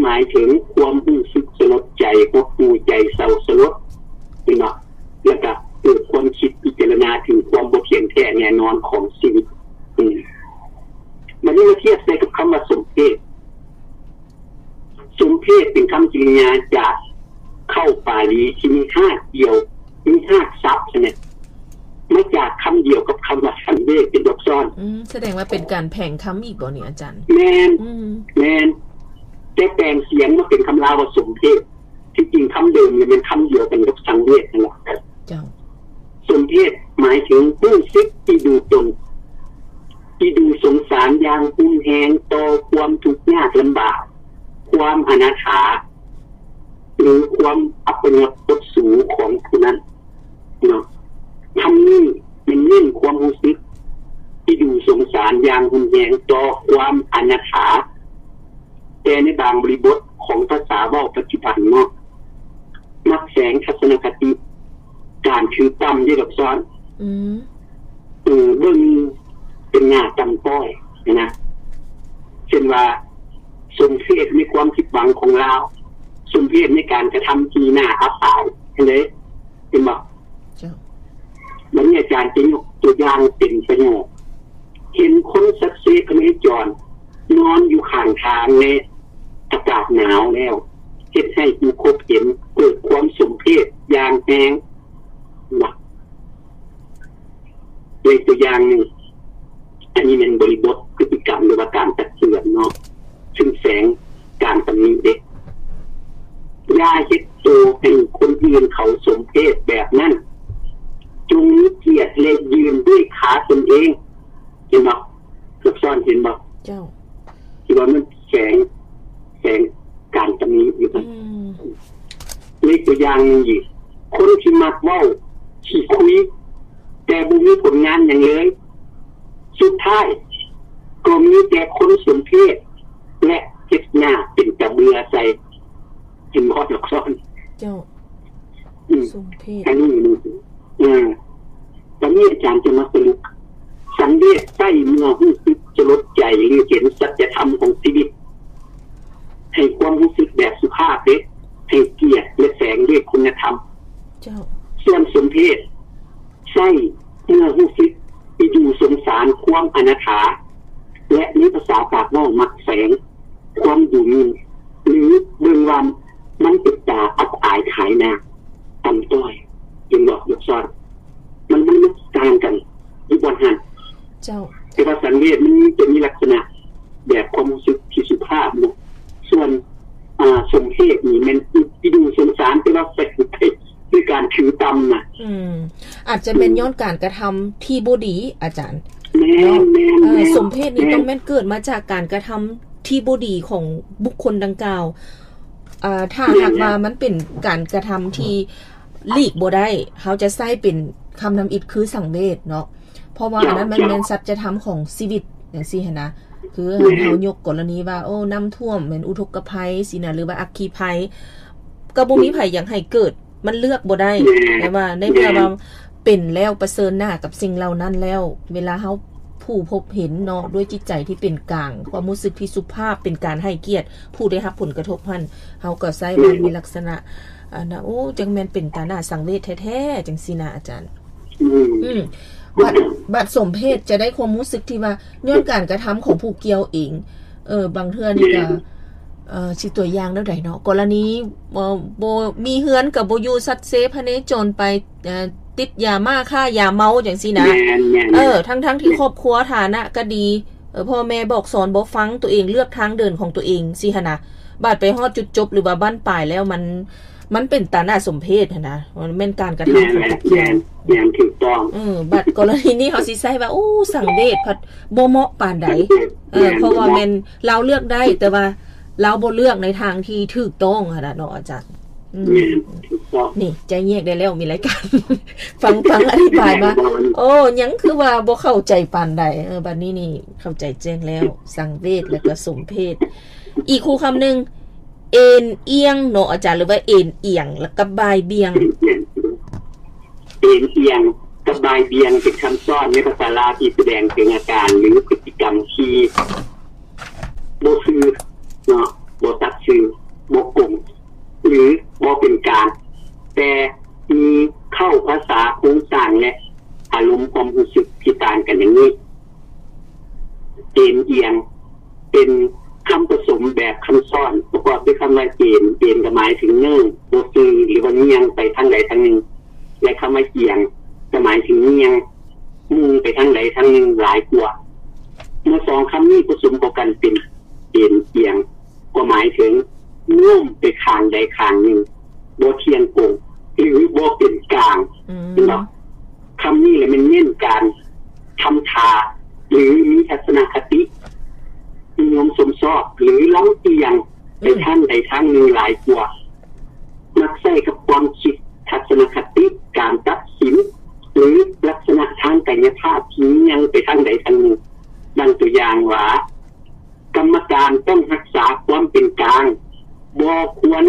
ໝາຍເຖິງຄວາມຮູ້ສຶກສະຫຼົດໃຈ, ຫົດຫູ່ໃຈ, ເສົ້າສະຫຼົດ, ເຫັນບໍ່? ແລ້ວກໍເກີດຄວາມຄິດພິຈາລະນາເຖິງຄວາມບໍ່ທ່ຽງແທ້ແນ່ນອນຂອງຊີວິດ. ອືມ ບັດນີ້ມາທຽບໃສ່ກັບຄຳວ່າສົມເພດ. ສົມເພດເປັນຄຳກິລິຍາຈາກເຄົ້າປາລີທີ່ມີຮາກດຽວ, ມີຮາກສັບຫັ້ນແຫຼະ ມາຈາກຄຳດຽວກັບຄຳວ່າສັງເວດ ເປັນດອກຊ້ອນ. ອືມ ສະແດງວ່າເປັນການແຜງຄຳອີກບໍ່ນີ້ອາຈານ? ແມ່ນ ອືມ ແມ່ນ ແຕ່ແປງສຽງມາເປັນຄຳລາວວ່າສົມເພດ. ທີ່ຈິງຄຳເດີມນີ້ແມ່ນຄຳດຽວກັນກັບສັງເວດນັ້ນແຫຼະ. ເຈົ້າ. ສົມເພດໝາຍເຖິງຮູ້ສຶກອີ່ດູຕົນ, ອີ່ດູສົງສານຢ່າງຮຸນແຮງຕໍ່ຄວາມທຸກຍາກລຳບາກ, ຄວາມອະນາຖາ ຫຼື ຄວາມອັບປະຍົດອົດສູຂອງຜູ້ນັ້ນເນາະ. ຄຳນີ້ແມ່ນເນັ້ນຄວາມຮູ້ສຶກອີ່ດູສົງສານຢ່າງຮຸນແຮງຕໍ່ຄວາມອະນາຖາ, ແຕ່ໃນບາງບໍລິບົດຂອງພາສາເວົ້າປັດຈຸບັນເນາະ ມັກແຝງທັດສະນະຄະຕິການຖືຕ່ຳເດ້ ດອກຊ້ອນ. ອືມ ເອີ ເບິ່ງເປັນໜ້າຕ່ຳຕ້ອຍນະ, ເຊັ່ນວ່າ ສົມເພດໃນຄວາມຜິດຫວັງຂອງລາວ, ສົມເພດໃນການກະທຳທີ່ໜ້າອັບອາຍ ເຫັນເດ້ ເຫັນບໍ່? ເຈົ້າ. ບັດນີ້ອາຈານຈະຍົກຕົວຢ່າງເປັນປະໂຫຍກ, ເຫັນຄົນສັກເຊພະເນຈອນນອນຢູ່ຂ້າງທາງໃນອາກາດໜາວແລ້ວ ເຮັດໃຫ້ຜູ້ພົບເຫັນເກີດຄວາມສົມເພດຢ່າງແຮງ. ເຫັນບໍ່? ເປັນຕົວຢ່າງໜຶ່ງ. ອັນນີ້ແມ່ນບໍລິບົດພຶດຕິກຳ ຫຼືວ່າການຕັກເຕືອນເນາະ, ຊຶ່ງແຝງການຕຳໜິເດ້. ຢ່າເຮັດໂຕໃຫ້ຄົນອື່ນເຂົາສົມເພດແບບນັ້ນ, ຈົ່ງມີກຽດ ແລະ ຢືນດ້ວຍຂາຕົນເອງ. ເຫັນບໍ່? ລັກສອນ ເຫັນບໍ່? ເຈົ້າ. ທີ່ວ່າມັນແຝງ ແຝງການຕຳໜິຢູ່. ອືມ. ເລີຍຕົວຢ່າງໜຶ່ງອີກ, ຄົນທີ່ມັກເວົ້າຂີ້ຄຸຍ ແຕ່ບໍ່ມີຜົນງານຫຍັງເລີຍ, ສຸດທ້າຍກໍມີແຕ່ຄົນສົມເພດ ແລະ ເຮັດໜ້າເປັນຕາເບື່ອໃສ່. ເຫັນບໍ່ ດອກສອນ? ເຈົ້າ. ອືມ ສົມເພດ ອັນນີ້ ເອີ ຕອນນີ້ອາຈານຈະມາສະຫຼຸບ. ສັງເວດໃຊ້ເມື່ອຮູ້ສຶກສະຫຼົດໃຈ ຫຼື ເຫັນສັດຈະທຳຂອງຊີວິດ, ໃຫ້ຄວາມຮູ້ສຶກແບບສຸພາບເດ້, ໃຫ້ກຽດ ແລະ ແຝງດ້ວຍຄຸນນະທຳ. ເຈົ້າ. ສ່ວນສົມເພດ ໃຊ້ເມື່ອຮູ້ສຶກອີ່ດູສົງສານຄວາມອະນາຖາ ແລະ ໃນພາສາປາກເວົ້າມັກແຝງຄວາມດູໝິ່ນ ຫຼື ເບິ່ງວ່າມັນເປັນຕາອັບອາຍຂາຍໜ້າ ຕ່ຳຕ້ອຍ. ເຫັນບໍ່ ດອກສອນ? ມັນ ມັນ ມັນຕ່າງກັນຢູ່ບ່ອນຫັ້ນ. ເຈົ້າ. ແຕ່ວ່າສັງເວດມັນຈະມີລັກສະນະແບບຄວາມຮູ້ສຶກທີ່ສຸພາບເນາະ, ສ່ວນ ອ່າ ສົມເພດນີ້ແມ່ນອີ່ດູສົງສານ ແຕ່ວ່າແຝງໄປ ຄືການຖືຕ່ຳນະ. ອືມ ອາດຈະແມ່ນ ອືມ ຍ້ອນການກະທຳທີ່ບໍ່ດີ ອາຈານ. ແມ່ນ ເນາະ ແມ່ນ ເອີ ແມ່ນ ສົມເພດນີ້ ແມ່ນ ຕ້ອງແມ່ນເກີດມາຈາກການກະທຳທີ່ບໍ່ດີຂອງບຸກຄົນດັ່ງກ່າວ. ເອີ ຖ້າ ແມ່ນ ຫາກວ່າ ແມ່ນ ມັນເປັນການກະທຳທີ່ຫຼີກບໍ່ໄດ້ ເຮົາຈະໃຊ້ເປັນຄຳທຳອິດຄືສັງເວດເນາະ, ເພາະວ່າ ເຈົ້າ ອັນນັ້ນມັນ ເຈົ້າ ແມ່ນສັດຈະທຳຂອງຊີວິດ ຈັ່ງຊີ້ຫັ້ນນະ. ຄື ແມ່ນ ເຮົາຍົກກໍລະນີວ່າ ໂອ້ ນ້ຳຖ້ວມແມ່ນອຸທົກກະໄພຊີ້ນະ ຫຼືວ່າອັກຄີໄພ ກໍບໍ່ມີ ແມ່ນ ໃຜຢາກໃຫ້ເກີດ, ມັນເລືອກບໍ່ໄດ້. ແມ່ນ ແຕ່ວ່າໃນເມື່ອ ແມ່ນ ວ່າເປັນແລ້ວ ປະເຊີນໜ້າກັບສິ່ງເຫຼົ່ານັ້ນແລ້ວ ເວລາເຮົາຜູ້ພົບເຫັນເນາະ ດ້ວຍຈິດໃຈທີ່ເປັນກາງ, ຄວາມຮູ້ສຶກທີ່ສຸພາບ, ເປັນການໃຫ້ກຽດຜູ້ໄດ້ຮັບຜົນກະທົບຫັ້ນ, ເຮົາກໍໃຊ້ມັນ ແມ່ນ ໃນລັກສະນະ ອັນນະ ໂອ້ ຈັ່ງແມ່ນເປັນຕາໜ້າສັງເວດແທ້ໆ ຈັ່ງຊີ້ນະອາຈານ. ອືມ ອືມ ບາດ ບາດສົມເພດຈະໄດ້ຄວາມຮູ້ສຶກທີ່ວ່າ ຍ້ອນການກະທຳຂອງຜູ້ກ່ຽວເອງ. ເອີ ບາງເທື່ອນີ້ກະ ແມ່ນ ເອີ ຊິຕົວຢ່າງແນວໃດເນາະ, ກໍລະນີ ເອີ ບໍ່ມີເຮືອນກະບໍ່ຢູ່ ສັດເຊພະເນຈອນໄປ ເອີ ຕິດຢາມ້າ ຄ້າຢາເມົາ ຈັ່ງຊີ້ນະ. ແມ່ນ ແມ່ນ ເອີ ແມ່ນ ທັງໆທີ່ ແມ່ນ ຄອບຄົວຖານະກະດີ, ເອີ ພໍ່ແມ່ບອກສອນບໍ່ຟັງ, ຕົວເອງເລືອກທາງເດີນຂອງຕົວເອງຊີ້ຫັ້ນນະ, ບາດໄປຮອດຈຸດຈົບ ຫຼືວ່າບັ້ນປາຍແລ້ວ ມັນ ມັນເປັນຕາໜ້າສົມເພດຫັ້ນນະ, ມັນແມ່ນການກະທຳຂອງຜູ້ກ່ຽວ. ແມ່ນ ແມ່ນ ແມ່ນ ຖືກຕ້ອງ. ເອີ ບັດກໍລະນີນີ້ເຮົາຊິໃຊ້ວ່າ ໂອ້ ສັງເວດພັດບໍ່ເໝາະປານໃດ. ເອີ ແມ່ນ ເພາະວ່າແມ່ນລາວເລືອກໄດ້ ແຕ່ວ່າລາວບໍ່ເລືອກໃນທາງທີ່ຖືກຕ້ອງຫັ້ນນະເນາະອາຈານ. ອືມ ແມ່ນ ຖືກຕ້ອງ. ນີ້ ໃຈແຍກໄດ້ແລ້ວ ມີລາຍການ ຟັງ ຟັງອະທິບາຍມາ. ແມ່ນ ໂອ້ ຍັງຄືວ່າບໍ່ເຂົ້າໃຈປານໃດ. ເອີ ບັດນີ້ນີ້ເຂົ້າໃຈແຈ້ງແລ້ວ ສັງເວດ ແລ້ວກໍສົມເພດ. ອີກຄູ່ຄຳໜຶ່ງ ເອນອຽງເນາະອາຈານ ຫຼືວ່າເອນອຽງ ແລ້ວກັບບ່າຍບ່ຽງ. ເອນອຽງກັບບ່າຍບ່ຽງເປັນຄຳຊ້ອນໃນພາສາລາວທີ່ສະແດງເຖິງອາການ ຫຼື ພຶດຕິກຳທີ່ບໍ່ຊື່ເນາະ, ບໍ່ສັດຊື່. ເປັນຄຳປະສົມແບບຄຳຊ້ອນ ປະກອບດ້ວຍຄຳວ່າເອນ, ເອນກໍໝາຍເຖິງເນີ່ງ, ບໍ່ຊື່ ຫຼືວ່າຍ່ຽງໄປທາງໃດທາງໜຶ່ງ ແລະ ຄຳວ່າອຽງກໍໝາຍເຖິງຍ່ຽງ, ມຸ່ງໄປທາງໃດທາງໜຶ່ງຫຼາຍກວ່າ. ເມື່ອສອງຄຳນີ້ປະສົມເຂົ້າກັນເປັນເອນອຽງ ກໍໝາຍເຖິງໂນ້ມໄປຂ້າງໃດຂ້າງໜຶ່ງ, ບໍ່ທ່ຽງກົງ ຫຼື ບໍ່ເປັນກາງ. ອືມ ເຫັນບໍ່? ຄຳນີ້ແຫຼະແມ່ນເນັ້ນການທຳທ່າ ຫຼື ມີທັດສະນະຄະຕິນິຍົມຊົມຊອບ ຫຼື ລຳອຽງໄປ ອືມ ທາງໃດທາງໜຶ່ງຫຼາຍກວ່າ, ມັກໃຊ້ກັບຄວາມຄິດ, ທັດສະນະຄະຕິ, ການຕັດສິນ ຫຼື ລັກສະນະທາງກາຍຍະພາບທີ່ຍ່ຽງໄປທາງໃດທາງໜຶ່ງ. ດັ່ງຕົວຢ່າງວ່າ ກຳມະການຕ້ອງຮັກສາຄວາມເປັນກາງ, ບໍ່ຄວນ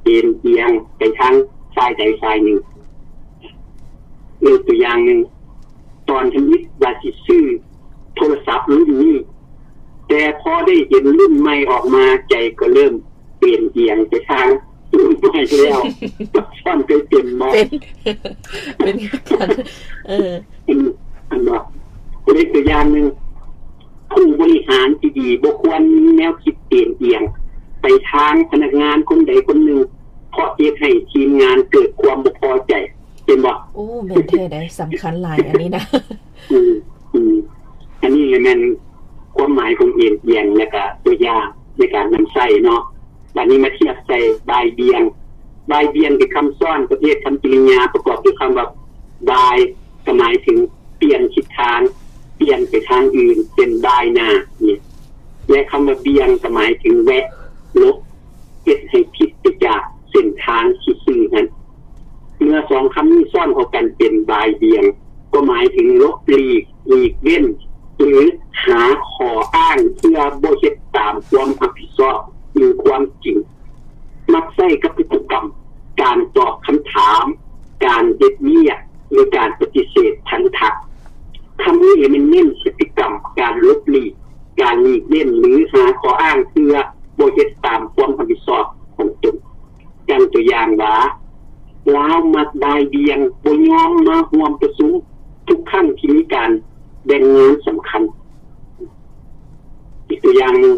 ເອນອຽງໄປທາງຝ່າຍໃດຝ່າຍໜຶ່ງ. ຍົກຕົວຢ່າງໜຶ່ງ, ຕອນທຳອິດວ່າຊິຊື້ໂທລະສັບລຸ້ນນີ້, ແຕ່ພໍໄດ້ເຫັນລຸ້ນໃໝ່ອອກມາ, ໃຈກໍເລີ່ມເອນອຽງໄປທາງລຸ້ນໃໝ່ແລ້ວ. ຊ້ອນເຄີຍເປັນບໍ່? ເປັນ ເປັນຄືກັນ. ເອີ ອັນ ອັນວ່າ ຍົກຕົວຢ່າງໜຶ່ງ, ຜູ້ບໍລິຫານທີ່ດີບໍ່ຄວນມີແນວຄິດເອນອຽງໄປທາງພະນັກງານຄົນໃດຄົນໜຶ່ງ, ເພາະເຮັດໃຫ້ທີມງານເກີດຄວາມບໍ່ພໍໃຈ. ເຫັນບໍ່? ໂອ້ ແມ່ນແທ້ໃດ໋, ສຳຄັນຫຼາຍອັນນີ້ນະ. ອືມ ອືມ ອັນນີ້ແມ່ນຄວາມໝາຍຂອງເອນອຽງ ແລະກະຕົວຢ່າງໃນການນຳໃຊ້ເນາະ. ບາດນີ້ມາທຽບໃສ່ບ່າຍບ່ຽງ. ບ່າຍບ່ຽງເປັນຄຳຊ້ອນປະເພດຄຳກິລິຍາປະກອບດ້ວຍຄຳວ່າບ່າຍ ກໍໝາຍເຖິງປ່ຽນທິດທາງ, ປ່ຽນໄປທາງອື່ນ, ເຊັ່ນ ບ່າຍໜ້ານີ້ ແລະ ຄຳວ່າບ່ຽງກໍໝາຍເຖິງແວະ, ຫຼົບ, ເຮັດໃຫ້ຜິດໄປຈາກເສັ້ນທາງທີ່ຊື່ນັ້ນ. ເມື່ອສອງຄຳນີ້ຊ້ອນເຂົ້າກັນເປັນບ່າຍບ່ຽງ ກໍໝາຍເຖິງຫຼົບຫຼີກ, ຫຼີກເວັ້ນ ຫຼື ຫາຂໍ້ອ້າງເພື່ອບໍ່ເຮັດຕາມຄວາມຮັບຜິດຊອບ ຫຼື ຄວາມຈິງ. ມັກໃຊ້ກັບພຶດຕິກຳການຕອບຄຳຖາມ, ການເຮັດວຽກ ຫຼື ການປະຕິເສດທັນທະ. ຄຳນີ້ແມ່ນເນັ້ນພຶດຕິກຳການຫຼົບຫຼີກ, ການຫຼີກເວັ້ນ ຫຼື ຫາຂໍ້ອ້າງເພື່ອບໍ່ເຮັດຕາມຄວາມຮັບຜິດຊອບຂອງຕົນ. ດັ່ງຕົວຢ່າງວ່າ ລາວມັກບ່າຍບ່ຽງ, ບໍ່ຍອມມາຮ່ວມປະຊຸມທຸກຄັ້ງທີ່ມີການແບ່ງງານສຳຄັນ. ອີກຕົວຢ່າງໜຶ່ງ,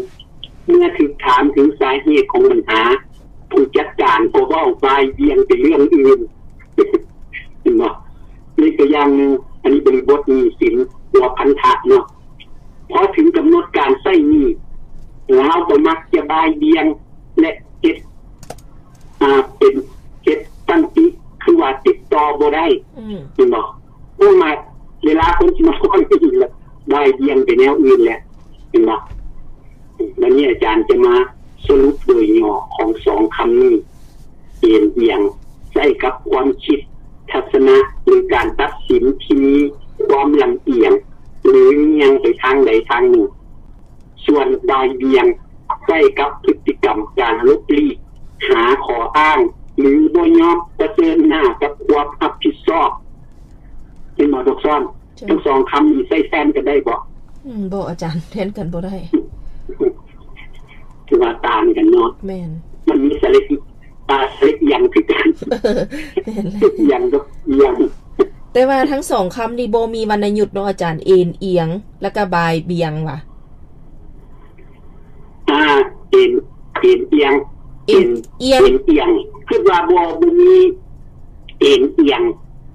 ເມື່ອຖືກຖາມເຖິງສາເຫດຂອງບັນຫາ, ຜູ້ຈັດການກໍເວົ້າບ່າຍບ່ຽງໄປເລື່ອງອື່ນ. ເຫັນບໍ່? ອີກຕົວຢ່າງໜຶ່ງ, ອັນນີ້ບໍລິບົດໜີ້ສິນ ຫຼືວ່າພັນທະເນາະ. ພໍເຖິງກຳນົດການໃຊ້ໜີ້, ລາວກໍມັກຈະບ່າຍບ່ຽງ ແລະ ເຮັດ ອ່າ ເປັນເຮັດຕັ້ງຕິ ຄືວ່າຕິດຕໍ່ບໍ່ໄດ້. ອືມ ເຫັນບໍ່? ເພາະວ່າເວລາຄົນຊິມາຂໍນີ້ລະ ບ່າຍບ່ຽງໄປແນວອື່ນແຫຼະ ເຫັນບໍ່? ບັດນີ້ອາຈານຈະມາສະຫຼຸບໂດຍຫຍໍ້ຂອງສອງຄຳນີ້. ເອນອຽງ ໃຊ້ກັບຄວາມຄິດ, ທັດສະນະ ຫຼື ການຕັດສິນທີ່ມີຄວາມລຳອຽງ ຫຼື ງຽງໄປທາງໃດທາງໜຶ່ງ. ສ່ວນບ່າຍບ່ຽງ ໃຊ້ກັບພຶດຕິກຳການຫຼົບຫຼີກ, ຫາຂໍ້ອ້າງ ຫຼື ບໍ່ຍອມປະເຊີນໜ້າກັບຄວາມຮັບຜິດຊອບ. ເຫັນບໍ່ ດອກຊ້ອນ? ເຈົ້າ. ທັງສອງຄຳນີ້ໃຊ້ແທນກັນໄດ້ບໍ່? ອືມ ບໍ່ ອາຈານ, ແທນກັນບໍ່ໄດ້. ຄືວ່າຕ່າງກັນເນາະ. ແມ່ນ. ມັນມີສະເລັດ ຕາສະເລັດອຽງຄືກັນ. ແມ່ນແຫຼະ. ອຽງກັບອຽງ. ແຕ່ວ່າທັງສອງຄຳນີ້ບໍ່ມີວັນນະຍຸດເນາະອາຈານ, ເອນອຽງ ແລ້ວກໍບ່າຍບ່ຽງຫວາ? ອ່າ ເອນ ເອນອຽງ ເອນອຽງ ເອນອຽງ ຄິດວ່າບໍ່ ບໍ່ມີເອນອຽງ.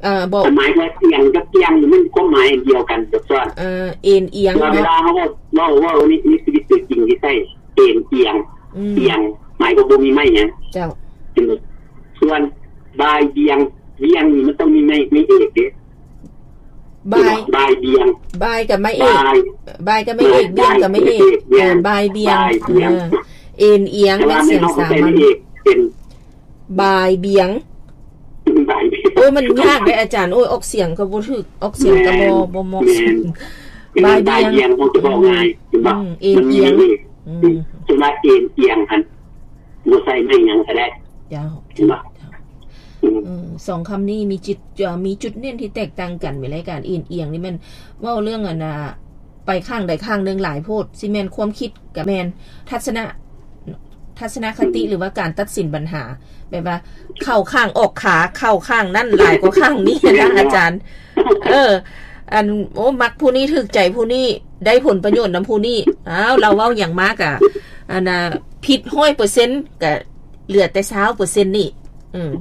ເອີ ບໍ່ ຄວາມໝາຍວ່າອຽງກັບອຽງນີ້ມັນຄວາມໝາຍອັນດຽວກັນ ດອກຊ້ອນ. ເອີ ເອນອຽງ ເວລາ ເນາະ ເຮົາເວົ້າ ເວົ້າ ເວົ້າໃນ ໃນຊີວິດຕົວຈິງທີ່ໃຊ້ເອນອຽງ ອືມ ອຽງ ໝາຍຄວາມບໍ່ມີໄມ້ຫຍັງ. ເຈົ້າ. ສ່ວນບ່າຍບ່ຽງ ບ່ຽງນີ້ມັນຕ້ອງມີໄມ້ ໄມ້ເອກເດ້. ບ່າຍ ບ່າຍບ່ຽງ ບ່າຍກັບໄມ້ເອກ ບ່າຍ ບ່າຍກັບໄມ້ເອກ ບ່າຍ ບ່ຽງກັບໄມ້ເອກ ບ່າຍ ເອີ ບ່າຍບ່ຽງ ບ່າຍບ່ຽງ ເອີ ເອນອຽງ ເປັນສຽງສາມັນ ເປັນບ່າຍບ່ຽງ ບ່າຍ ໂອ້ຍ ມັນຍາກເດ້ອາຈານ. ໂອ້ຍ ອອກສຽງກໍບໍ່ຖືກ ອອກສຽງກໍບໍ່ ແມ່ນ ບໍ່ເໝາະ ແມ່ນ ສມ ບ່າຍບ່ຽງ ບ່າຍບ່ຽງ ເຮົາຈະເວົ້າງ່າຍ ເຫັນບໍ່? ອືມ ເອນ ມັນມີ ເອນອຽງ ເອນ ອືມ ສ່ວນວ່າເອນອຽງຫັ້ນ ບໍ່ໃສ່ໄມ້ຫຍັງກໍໄດ້. ເຈົ້າ ເຫັນບໍ່? ເຈົ້າ ອືມ ເອີ ສອງຄຳນີ້ມີຈຸດ ເອີ ມີຈຸດເນັ້ນທີ່ແຕກຕ່າງກັນ. ແມ່ນລາຍການເອນອຽງນີ້ແມ່ນເວົ້າເລື່ອງ ອັນນ່າ ໄປຂ້າງໃດຂ້າງໜຶ່ງຫຼາຍໂພດ, ຊິແມ່ນຄວາມຄິດກໍແມ່ນ, ທັດສະນະ ທັດສະນະຄະຕິ ອືມ ຫຼືວ່າການຕັດສິນບັນຫາ ແບບວ່າເຂົ້າຂ້າງອອກຂາ, ເຂົ້າຂ້າງນັ້ນຫຼາຍກວ່າຂ້າງນີ້ນະ ອາຈານ. ເອີ ອັນ ໂອ້ ມັກຜູ້ນີ້ ຖືກໃຈຜູ້ນີ້ ໄດ້ຜົນປະໂຫຍດນຳຜູ້ນີ້ ອ້າວ ລາວເວົ້າຫຍັງມາກະ ອັນນ່າ ຜິດຮ້ອຍເປີເຊັນ ກະເຫຼືອແຕ່ຊາວເປີເຊັນນີ້ ອືມ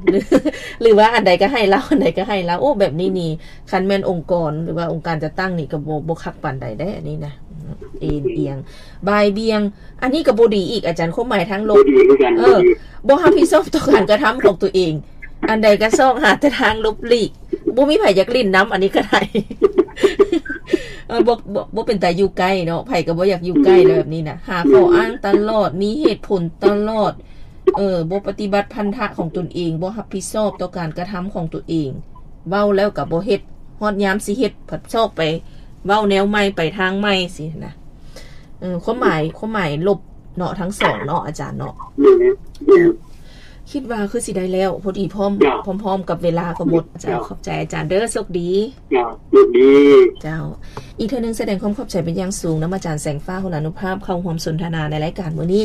ຫຼືວ່າອັນໃດກະໃຫ້ລາວ ອັນໃດກະໃຫ້ລາວ. ໂອ້ ແບບນີ້ນີ້ ຄັນແມ່ນອົງກອນ ຫຼືວ່າອົງການຈັດຕັ້ງນີ້ກະບໍ່ ບໍ່ຄັກປານໃດເດ້ ອັນນີ້ນະ ເອັນອຽງ ບ່າຍບ່ຽງ ອັນນີ້ກະບໍ່ດີອີກ ອາຈານ ຄວາມໝາຍທາງລົບ ບໍ່ດີຄືກັນ ເອີ ບໍ່ຮັບຜິດຊອບຕໍ່ການກະທຳຂອງຕົວເອງ ອັນໃດກະຊອກຫາແຕ່ທາງຫຼົບຫຼີກ ບໍ່ມີໃຜຢາກຫຼິ້ນນຳ ອັນນີ້ກະໄດ້ ເອີ ບໍ່ ບໍ່ ບໍ່ເປັນຕາຢູ່ໃກ້ເນາະ ໃຜກະບໍ່ຢາກຢູ່ໃກ້ແລ້ວແບບນີ້ນະ ຫາຂໍ້ອ້າງຕະຫຼອດ ມີເຫດຜົນຕະຫຼອດ ເອີ ບໍ່ປະຕິບັດພັນທະຂອງຕົນເອງ ບໍ່ຮັບຜິດຊອບຕໍ່ການກະທຳຂອງຕົວເອງ ເວົ້າແລ້ວກະບໍ່ເຮັດ ຮອດຍາມຊິເຮັດ ພັດຊອກໄປເວົ້າແນວໃໝ່ ໄປທາງໃໝ່ຊີ້ນະ. ເອີ ຄວາມໝາຍ ຄວາມໝາຍລົບເນາະ ທັງສອງເນາະ ອາຈານເນາະ. ແມ່ນ ແມ່ນ ຄິດວ່າຄືຊິໄດ້ແລ້ວ ພໍດີພ້ອມ ເຈົ້າ ພ້ອມໆກັບເວລາກໍໝົດ. ເຈົ້າ ເຈົ້າ ຂອບໃຈອາຈານເດີ ໂຊກດີ. ເຈົ້າ ໂຊກດີ. ເຈົ້າ ອີກເທື່ອໜຶ່ງສະແດງຄວາມຂອບໃຈເປັນຢ່າງສູງນຳອາຈານແສງຟ້າ ໂຫລານຸພາບ ເຂົ້າຮ່ວມສົນທະນາໃນລາຍການມື້ນີ້.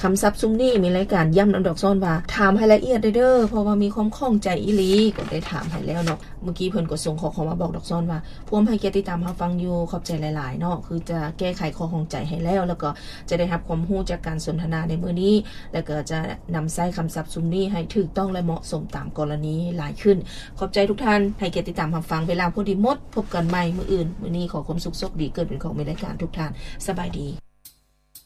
ຄຳສັບຊຸມນີ້ມີລາຍການຢ້ຳນຳດອກຊ້ອນວ່າ ຖາມໃຫ້ລະອຽດເດີ ເພາະວ່າມີຄວາມຂ້ອງໃຈອີ່ຫຼີ ກໍໄດ້ຖາມໃຫ້ແລ້ວເນາະ. ເມື່ອກີ້ເພິ່ນກໍສົ່ງຂໍ້ຄວາມມາບອກດອກຊ້ອນວ່າ ພວມໃຫ້ກຽດຕິດຕາມຮັບຟັງຢູ່ ຂອບໃຈຫຼາຍໆເນາະ ຄືຈະແກ້ໄຂຂໍ້ຂ້ອງໃຈໃຫ້ແລ້ວ ແລ້ວກໍຈະໄດ້ຮັບຄວາມຮູ້ຈາກການສົນທະນາໃນມື້ນີ້ ແລ້ວກໍຈະນຳໃຊ້ຄຳສັບຊຸມນີ້ໃຫ້ຖືກຕ້ອງ ແລະ ເໝາະສົມຕາມກໍລະນີຫຼາຍຂຶ້ນ. ຂອບໃຈທຸກທ່ານ ໃຫ້ກຽດຕິດຕາມຮັບຟັງ ເວລາພໍດີໝົດ ພົບກັນໃໝ່ມື້ອື່ນ. ມື້ນີ້ຂໍຄວາມສຸກໂຊກດີ ເກີດເປັນຂອງມີລາຍການ ທຸກທ່ານ ສະບາຍດີ.